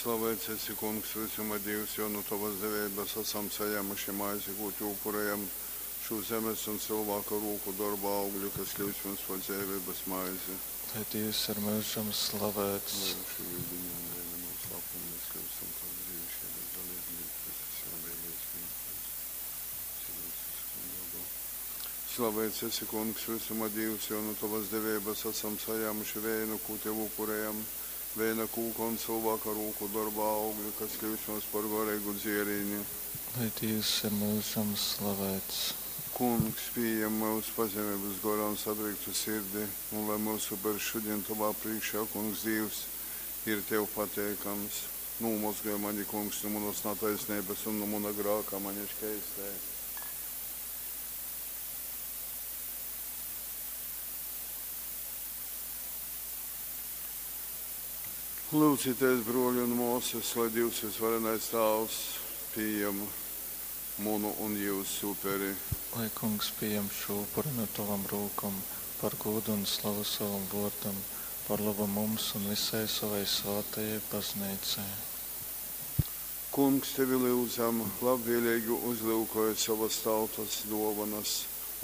Slaveits esi, Kungs, vysuma Dīvs, jo nu tovas deveibas asam sajāmuši maizi, kū tev upurejam, šū zemes un cylvāka rūku dorba augli, kas kļyus mums par dzeiveibas maizi. Lai Dīvs ir myužam slavēts. Lai šī yudini un veina nūslāpumu mēs kļūstam par brīvišķības dalībnieku Kristus evangelijas Slaveits esi, Kungs, vysuma Dīvs, jo nu tovas deveibas asam sajāmuši veinu, kū tev upurejam, veina kūka un cylvāka rūku dorba augli, kas kļūst mums par goreigu dzierīni. Lai Dīvs ir myužam slavēts. Kungs, pījem myus pazemeibas gorā un satriktu sirdi, un lai myusu upers šodien tovā prīškā, Kungs Dīvs, ir tev pateikams. Nūmozgoj mani, Kungs, nu manas nataisneibas un nu muna grāka mani škeistē. Lūdzieties, bruoli un māsas, lai Dievs visvarenais Tāvs pieņem munu un jūsu uperi. Lai Kungs pieņem šo upuri no tavām rūkām, par godu un slavu savam vārdam, par labu mums un visai savai svētajai baznīcai. Kungs, tevi lūdzam, labvēlīgi uzlūkoj savas tautas dōvanas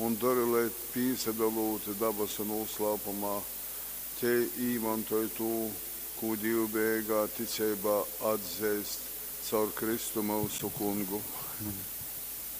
un dori, lai pīsadalūt dabasu nūslāpumā, tei īmontoj tū, kū dīvbejeigā ticeibā atzeist caur Kristu myusu Kungu.